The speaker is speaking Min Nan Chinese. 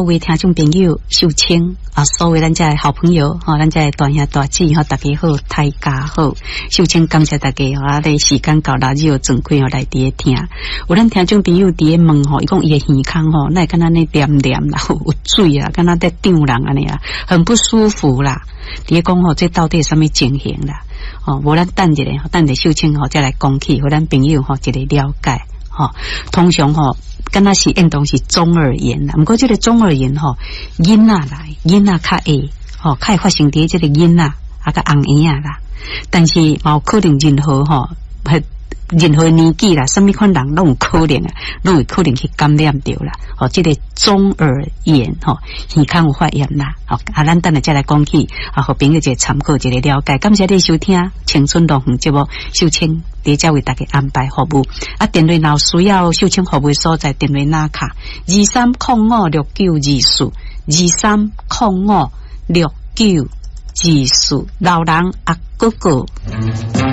位聽眾朋友，秀清啊，所有咱遮的好朋友，吼，咱遮的大兄大姊，吼，大家好，大家好，秀清感謝大家，吼，啊，咧時間到啦，就轉開吼來佇咧聽。有咱聽眾朋友佇咧問吼，伊講伊的耳孔吼，哪會敢若按呢黏黏啦，有水啊，敢若咧脹人按呢啊，很不舒服啦。佇咧講吼，這到底是啥物情形啦？哦，無咱等一下，等下秀清吼再來講起，予咱朋友吼一個了解。吼，通常吼，敢若是應當是中耳炎啦。毋過這個中耳炎吼，囡仔來，囡仔較會，吼，較會發生佇這個囡仔啊，佮紅嬰仔啦。但是嘛有可能任何吼，任何年紀啦，啥物款人攏有可能啊，攏會可能去感染著啦。吼，這個中耳炎吼，耳孔有發炎啦。吼，啊，咱等下再來講起，啊，予朋友一個參考，一個了解。感謝你收聽《青春樂園》節目，秀清佇遮為大家安排服務。啊，電話若有需要秀清服務所在，電話拿卡23056924，23056924，老人阿哥哥。